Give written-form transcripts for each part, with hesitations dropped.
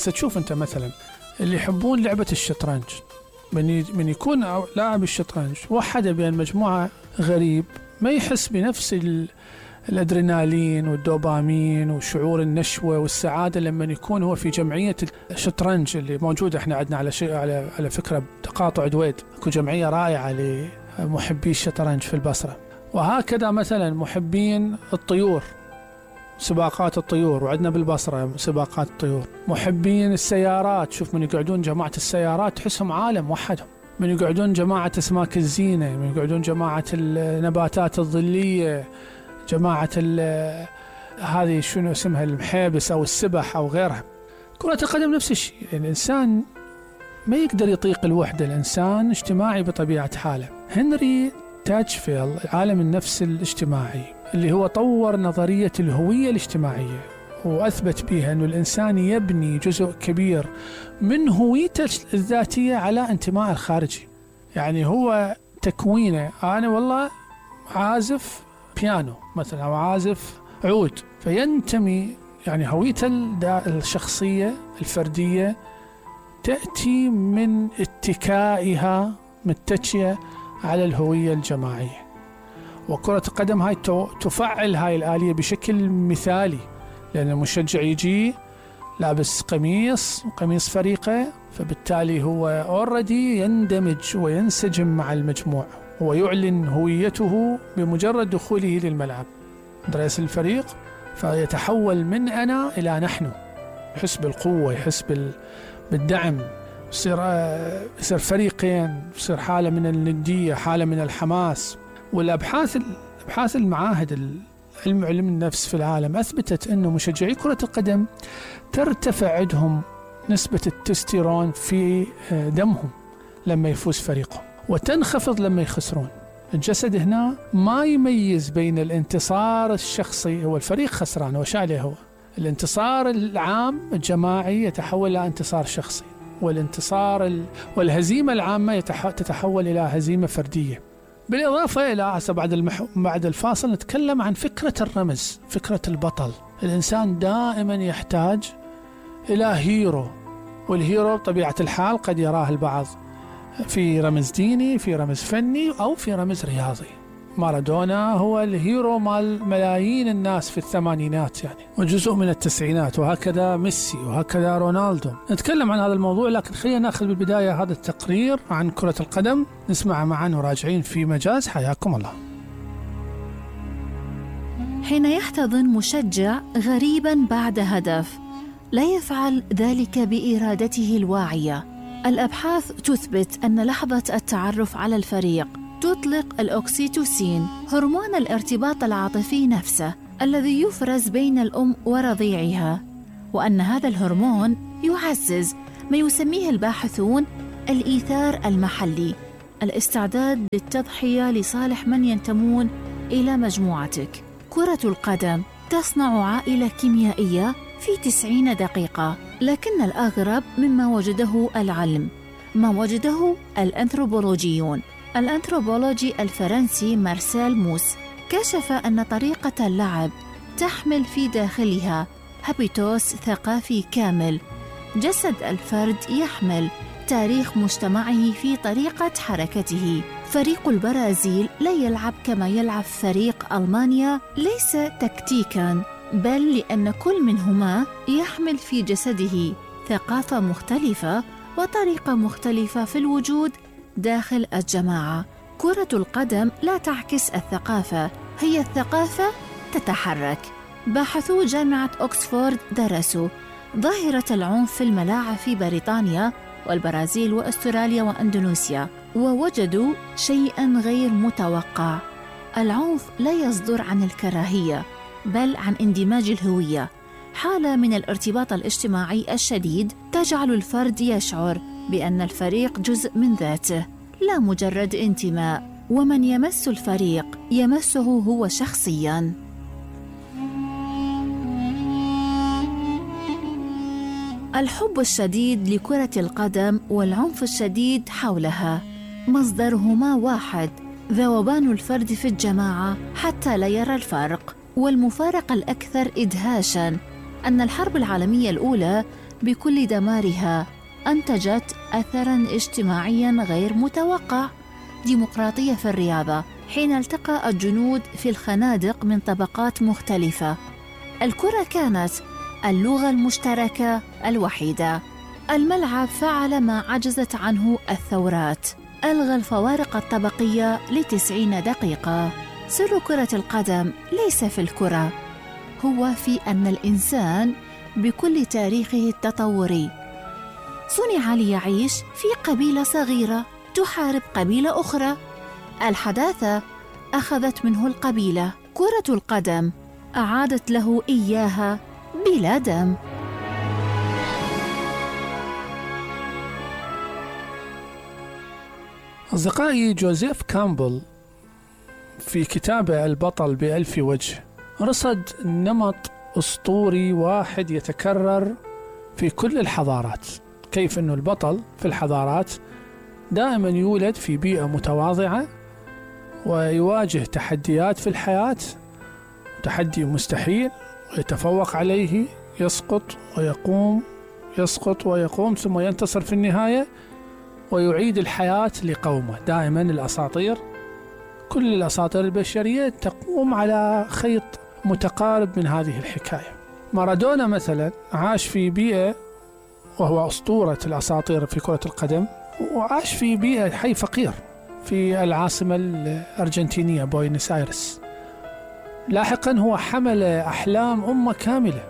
هسه تشوف أنت مثلا اللي يحبون لعبة الشطرنج، من يكون لاعب الشطرنج وحده بين مجموعة غريب ما يحس بنفس الأدرينالين والدوبامين وشعور النشوة والسعادة لما يكون هو في جمعية الشطرنج اللي موجودة. احنا عندنا على فكرة تقاطع دويد اكو جمعية رائعة لمحبي الشطرنج في البصرة. وهكذا مثلا محبين الطيور، سباقات الطيور، وعندنا بالبصرة سباقات الطيور. محبين السيارات، شوف من يقعدون جماعة السيارات تحسهم عالم وحدهم. من يقعدون جماعة أسماك الزينة، من يقعدون جماعة النباتات الظلية، جماعة هذه شنو اسمها المحابس أو السبح أو غيرها. كرة القدم نفس الشيء. الإنسان ما يقدر يطيق الوحدة، الإنسان اجتماعي بطبيعة حاله. هنري تاتشفيلد عالم النفس الاجتماعي اللي هو طور نظرية الهوية الاجتماعية وأثبت بها أن الإنسان يبني جزء كبير من هويته الذاتية على انتماء الخارجي. يعني هو تكوينه، أنا والله عازف بيانو مثلا أو عازف عود، فينتمي يعني هويته الشخصية الفردية تأتي من اتكائها متجهة على الهوية الجماعية. وكرة القدم هاي تفعل هاي الآلية بشكل مثالي، لأن المشجع يجي لابس قميص فريقه، فبالتالي هو أوردي يندمج وينسجم مع المجموعة ويعلن هويته بمجرد دخوله للملعب رئيس الفريق، فيتحول من أنا إلى نحن، يحس بالقوة، يحس بالدعم، يصير فريقين، يصير حالة من الندية، حالة من الحماس. والأبحاث المعاهد علم النفس في العالم أثبتت أنه مشجعي كرة القدم ترتفع عندهم نسبة التستيرون في دمهم لما يفوز فريقهم، وتنخفض لما يخسرون. الجسد هنا ما يميز بين الانتصار الشخصي، هو الفريق خسران وش عليه، هو الانتصار العام الجماعي يتحول إلى انتصار شخصي، والهزيمة العامة تتحول إلى هزيمة فردية. بالإضافة إلى بعد الفاصل نتكلم عن فكرة الرمز، فكرة البطل. الإنسان دائما يحتاج إلى هيرو، والهيرو بطبيعة الحال قد يراه البعض في رمز ديني، في رمز فني، أو في رمز رياضي. مارادونا هو الهيرو مال ملايين الناس في الثمانينات يعني، وجزء من التسعينات، وهكذا ميسي، وهكذا رونالدو. نتكلم عن هذا الموضوع، لكن خلينا نأخذ بالبداية هذا التقرير عن كرة القدم، نسمع معا وراجعين في مجاز. حياكم الله. حين يحتضن مشجع غريبا بعد هدف، لا يفعل ذلك بإرادته الواعية. الأبحاث تثبت أن لحظة التعرف على الفريق تطلق الأوكسيتوسين، هرمون الارتباط العاطفي نفسه الذي يفرز بين الأم ورضيعها، وأن هذا الهرمون يعزز ما يسميه الباحثون الإيثار المحلي، الاستعداد للتضحية لصالح من ينتمون إلى مجموعتك. كرة القدم تصنع عائلة كيميائية في 90 دقيقة، لكن الأغرب مما وجده العلم ما وجده الأنثروبولوجيون. الأنثروبولوجي الفرنسي مارسيل موس كشف أن طريقة اللعب تحمل في داخلها هابيتوس ثقافي كامل. جسد الفرد يحمل تاريخ مجتمعه في طريقة حركته. فريق البرازيل لا يلعب كما يلعب فريق ألمانيا، ليس تكتيكاً، بل لأن كل منهما يحمل في جسده ثقافة مختلفة وطريقة مختلفة في الوجود داخل الجماعة. كرة القدم لا تعكس الثقافة، هي الثقافة تتحرك. باحثو جامعة أكسفورد درسوا ظاهرة العنف في الملاعب في بريطانيا والبرازيل وأستراليا وأندونيسيا، ووجدوا شيئاً غير متوقع. العنف لا يصدر عن الكراهية، بل عن اندماج الهوية، حالة من الارتباط الاجتماعي الشديد تجعل الفرد يشعر بأن الفريق جزء من ذاته، لا مجرد انتماء، ومن يمس الفريق يمسه هو شخصياً. الحب الشديد لكرة القدم والعنف الشديد حولها مصدرهما واحد، ذوبان الفرد في الجماعة حتى لا يرى الفرق، والمفارقة الأكثر إدهاشاً أن الحرب العالمية الأولى بكل دمارها أنتجت أثراً اجتماعياً غير متوقع، ديمقراطية في الرياضة، حين التقى الجنود في الخنادق من طبقات مختلفة. الكرة كانت اللغة المشتركة الوحيدة. الملعب فعل ما عجزت عنه الثورات، ألغى الفوارق الطبقية ل90 دقيقة. سر كرة القدم ليس في الكرة، هو في أن الإنسان بكل تاريخه التطوري صنع ليعيش في قبيلة صغيرة تحارب قبيلة أخرى. الحداثة أخذت منه القبيلة، كرة القدم أعادت له إياها بلا دم. أصدقائي، جوزيف كامبل في كتابه البطل بألف وجه رصد نمط أسطوري واحد يتكرر في كل الحضارات، كيف أنه البطل في الحضارات دائما يولد في بيئة متواضعة ويواجه تحديات في الحياة، تحدي مستحيل ويتفوق عليه، يسقط ويقوم، يسقط ويقوم، ثم ينتصر في النهاية ويعيد الحياة لقومه. دائما الأساطير، كل الأساطير البشرية تقوم على خيط متقارب من هذه الحكاية. مارادونا مثلا عاش في بيئة، وهو أسطورة الأساطير في كرة القدم، وعاش في بيئة حي فقير في العاصمة الأرجنتينية بوينس آيرس. لاحقا هو حمل أحلام أمة كاملة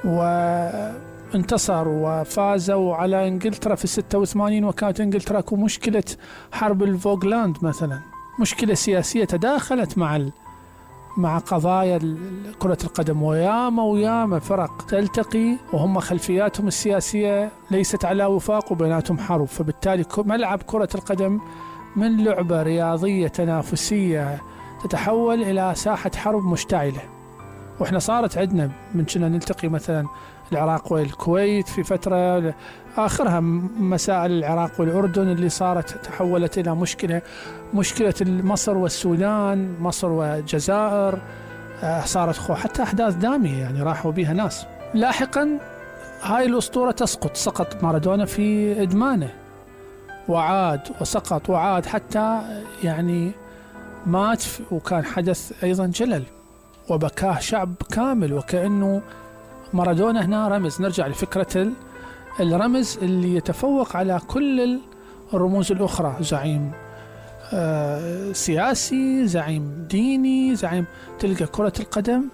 وانتصر وفازوا على إنجلترا في 86، وكانت إنجلترا مشكلة حرب الفوغلاند مثلا، مشكلة سياسية تداخلت مع قضايا كرة القدم، وياما فرق تلتقي وهم خلفياتهم السياسية ليست على وفاق وبيناتهم حرب. فبالتالي ملعب كرة القدم من لعبة رياضية تنافسية تتحول إلى ساحة حرب مشتعلة. وإحنا صارت عندنا من كنا نلتقي مثلا العراق والكويت في فترة، آخرها مسائل العراق والأردن اللي صارت تحولت إلى مشكلة مصر والسودان، مصر والجزائر، صارت حتى أحداث دامية يعني راحوا بها ناس. لاحقا هاي الأسطورة سقط مارادونا في إدمانه، وعاد وسقط وعاد حتى يعني مات، وكان حدث أيضا جلل وبكاه شعب كامل، وكأنه مارادونا هنا رمز. نرجع لفكرة الرمز اللي يتفوق على كل الرموز الأخرى، زعيم سياسي، زعيم ديني، زعيم. تلقى كرة القدم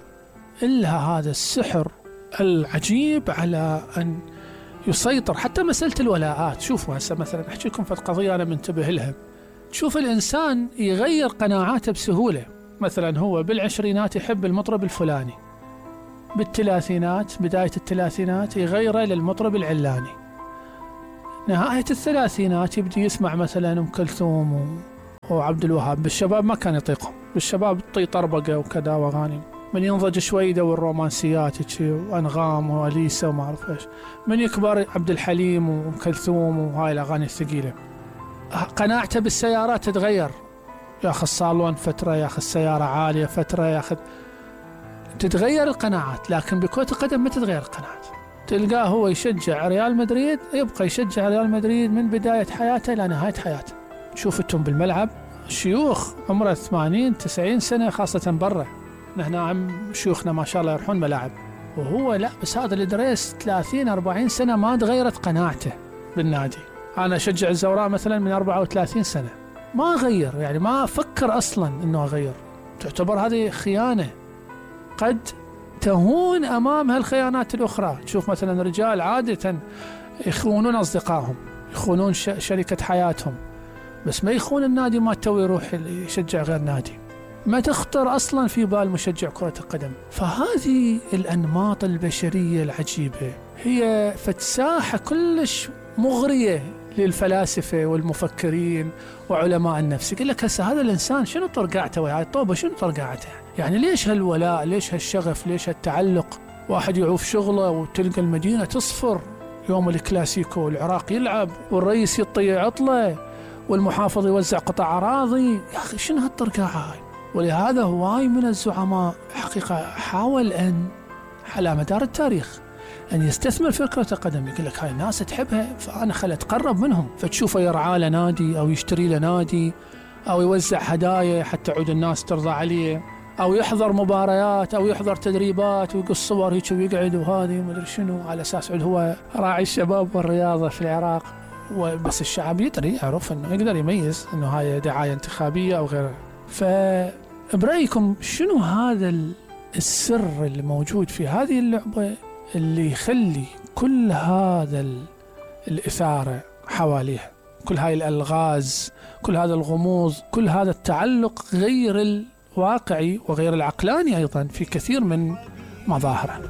إلها هذا السحر العجيب على أن يسيطر. حتى مسألة الولاءات، شوفوا هسه مثلا أحكي لكم في القضية أنا منتبه لها. تشوف الإنسان يغير قناعاته بسهولة، مثلا هو بالعشرينات يحب المطرب الفلاني، بالثلاثينات بداية الثلاثينات يغيره للمطرب العلاني، نهاية الثلاثينات يبدي يسمع مثلا أم كلثوم وعبد الوهاب. بالشباب ما كان يطيقهم، بالشباب طي طربقة وكذا وأغاني. من ينضج شوي يدور رومانسيات وأنغام وأليسا وما أعرف إيش. من يكبر عبد الحليم وأم كلثوم وهاي الأغاني الثقيلة. قناعته بالسيارات تتغير، ياخذ صالون فترة، ياخذ سيارة عالية فترة، ياخذ، تتغير القناعات. لكن بكرة القدم ما تتغير القناعات. تلقاه هو يشجع ريال مدريد، يبقى يشجع ريال مدريد من بداية حياته إلى نهاية حياته. شوفتهم بالملعب شيوخ عمره 80-90 سنة، خاصة برا. نحن عم شيوخنا ما شاء الله يروحون ملاعب، وهو لا، بس هذا الإدريس 30-40 سنة ما تغيرت قناعته بالنادي. أنا أشجع الزوراء مثلا من 34 سنة، ما غير، يعني ما فكر أصلا أنه أغير. تعتبر هذه خيانة قد تهون أمام هالخيانات الأخرى. تشوف مثلا رجال عادة يخونون أصدقائهم، يخونون شركة حياتهم، بس ما يخون النادي ما تو يروح يشجع غير نادي. ما تخطر أصلا في بال مشجع كرة القدم. فهذه الأنماط البشرية العجيبة هي فتساحة كلش مغرية للفلاسفة والمفكرين وعلماء النفس. يقول لك هسه هذا الإنسان شنو طرقعته ويا الطوبة، شنو طرقعته؟ يعني ليش هالولاء، ليش هالشغف، ليش هالتعلق؟ واحد يعوف شغله وتلقى المدينة تصفر يوم الكلاسيكو، العراق يلعب والرئيس يطيع عطلة والمحافظ يوزع قطع أراضي. يا أخي شنو هالطرقعة هاي؟ ولهذا هواي من الزعماء حقيقة حاول أن على مدار التاريخ أن يستثمر في كرة القدم. يقول لك هاي الناس تحبها فأنا خلت أتقرب منهم، فتشوفه يرعى له نادي أو يشتري له نادي أو يوزع هدايا حتى تعود الناس ترضى عليه، أو يحضر مباريات أو يحضر تدريبات ويقص صور هيك ويقعد وهذه ومدري شنو، على أساس هو راعي الشباب والرياضة في العراق. بس الشعب يدري، يعرف أنه يقدر يميز أنه هاي دعاية انتخابية أو غيرها. فبرأيكم شنو هذا السر اللي موجود في هذه اللعبة اللي يخلي كل هذا الإثارة حواليها، كل هاي الألغاز، كل هذا الغموض، كل هذا التعلق غير الواقعي وغير العقلاني أيضا في كثير من مظاهره؟